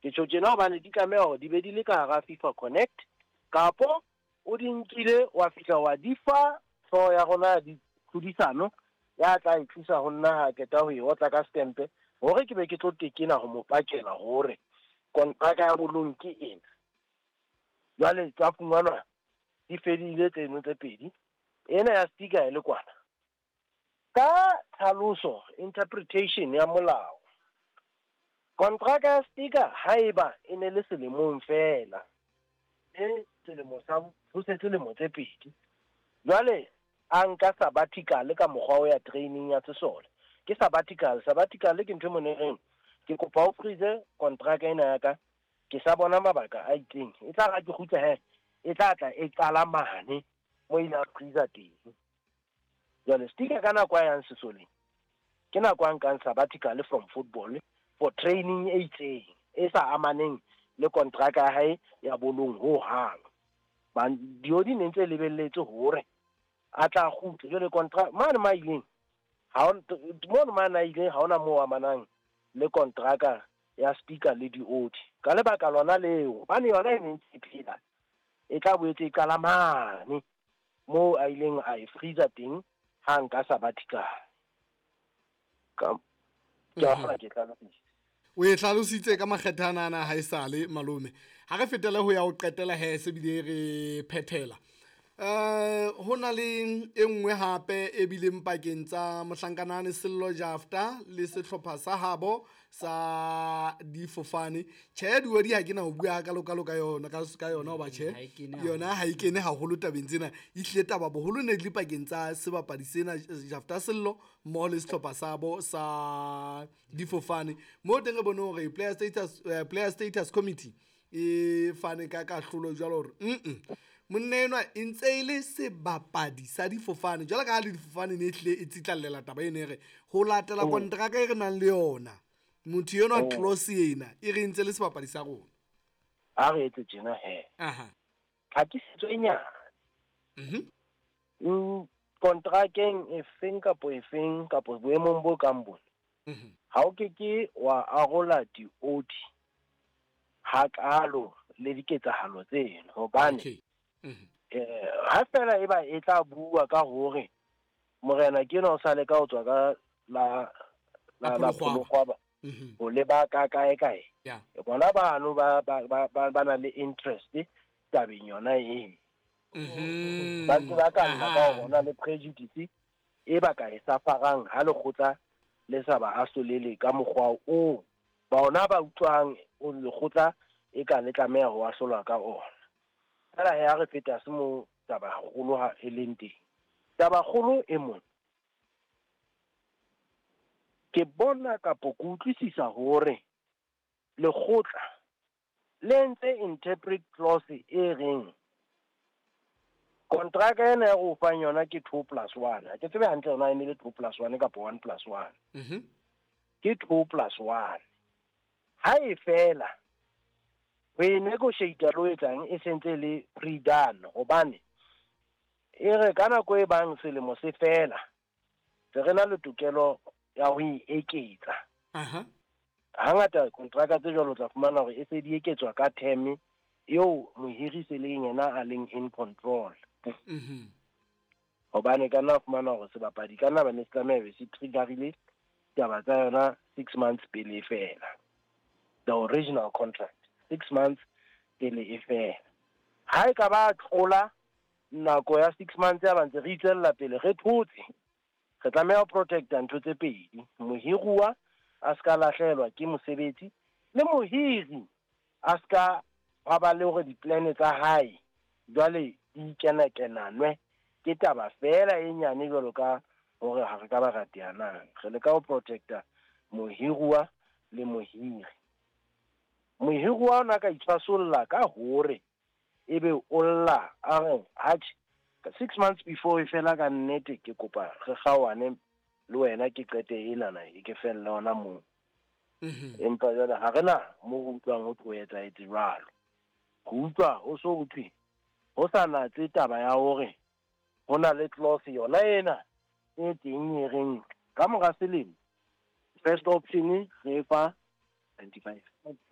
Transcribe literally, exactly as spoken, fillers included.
Ke tjho tjena hobane di tlameha hore di be di le ka hara FIFA Connect, kapo o di nkile wa fihla wa di fa hlooho ya rona ya ditlhodisano, ya tla e tlisa ho nna ha qeta ho e otla ka stempe hore ke be ke tlo tekena ho mo pakela hore kontraka ya bolong ke ena. Jwale tsa fumanwa di fedile tseno tse pedi, ena ya sticker e le kwana. Ka tlhaloso, interpretation ya molao, kontraka ya sticker haeba e ne le selemong feela, e selemo sa ho setse lemo tse pedi. Jwale a nka sabbatical ka mokgwa o ya training ya sesole. Ke sabbatical, sabbatical ke ntho e mo reng ke kopa o freeze kontraka ena ya ka, ke sa bona mabaka a itseng. E tla ra ke kgutla he, e tla tla e qala mane mo ile a freezer teng. Jwale sticker ka nako a yang sesoleng, ke nako a nkang sabbatical from football for training e itseng e sa amaneng le kontraka ya hae ya bolong ho hang. Ba diodi ne ntse lebelletse hore a tla kgutla. Jwale kontraka mane ma ileng, ha o mono mane a ileng ha hona moo amanang le kontraka ya sticker le diodi. Ka lebaka lona leo, hobane yona e ne ntse e phela, e tla boetse e qala mane moo a ileng a e freezer teng ha nka sabbatical. Ka ke a kgona ke hlalositse. O e hlalositse ka makgethe ana ana ha esale malome. Ha re fetele ho ya ho qetela he se bile re phethela. Eh ho na le e nngwe hape e bileng pakeng tsa mohlankanane Sello Jafta le sehlopha sa habo sa difofane. Tjhe, diodi ha ke na ho bua hakalo kalo ka yona, ka ka yona hoba tjhe, Ha e kene yona ha e kene haholo tabeng tsena. Ehlile taba boholo ne di le pakeng tsa sebapadi sena Jafta Sello mmoho le sehlopha sa bo sa difofane. Moo teng re bone hore player status, eh, player status committee e fane ka kahlolo jwalo hore mm monna enwa e ntse e le sebapadi sa difofane. Jwalo ka ha le difofane ne e hlile e tsitlallela taba eno e re ho latela kontraka e re nang le yona, motho enwa clause ena e re ntse le sebapadi sa rona. A re etse tjena he. Aha. Tlhakisetso e nyane. Mhm. Mm, kontrakeng e feng kapo e feng kapo boemong bo kang bona, Mhm. ha o ke ke wa arola diodi hakalo le diketsahalo tseno, hobane Okay. Mhm. eh, ha fela e ba e tla bua ka hore morena ke enwa o sa leka ho tswa ka la, la, La la Polokgwaba. Polokgwaba Mhm. ho leba ka kae kae. Yeah. Bona bano ba, ba, ba, ba, ba na le interest tabeng yona eo. Mhm. Ba ntse ba ka nna ka Aha. hore hona le prejudice e ba ka e safarang ha lekgotla le sa ba ahlolele ka mokgwa oo bona ba utlwang o lekgotla e ka le tlameha ho ahlolwa ka ona. Fela he ha re feta se mo taba kgolo ha e leng teng. Taba kgolo e mona, ke bona kapo ke utlwisisa hore lekgotla le ntse interpret clause e reng kontraka ena ya go fang yona ke two plus one. Ha ke tsebe hantle hore na e ne le two plus one kapa one plus one. Mhm. Ke two plus one. Ha e fela ho e negotiate le ho etsang e sentse le pre-done, hobane e re ka nako e bang selemo se fela se re na le tokelo ya ho e eketsa. Aha. Hangata kontraka tse jwalo tla fumana hore e se di eketswa ka term eo mohiri se leng yena a leng in control. Mhm. Hobane ka nna fumana hore sebapadi ka nna ba ne se tlameha be se triggerile taba tsa yona six months pele e fela. The original contract, six months pele e fela. Ha e ka ba tlola nako ya six months ya ba ntse re itswella pele re thotse, re tlameha ho protecta ntho tse pedi. Mohiruwa a ska lahlehelwa ke mosebetsi, le mohiri a ska ba ba le hore di-plan tsa hae jwale di kena-kenanwe ke taba fela e nyane jwalo ka hore ha re ka ba ra teanang. Re leka ho protecta mohiruwa le mohiri. Mohiruwa ona ka itshwasolla ka hore ebe o lla a re atjhe, six months before e fela ka nnete ke kopa re kgaohane le wena ke qete enana e ke felle hona moo. Mhm. Empa jwale ha re na mo re utlwang ho tlo etsahetse jwalo. Re utlwa ho so ho thwe ho sa natse taba ya hore ho na le clause yona ena e teng e reng ka mora selemo first option re fa ninety-five.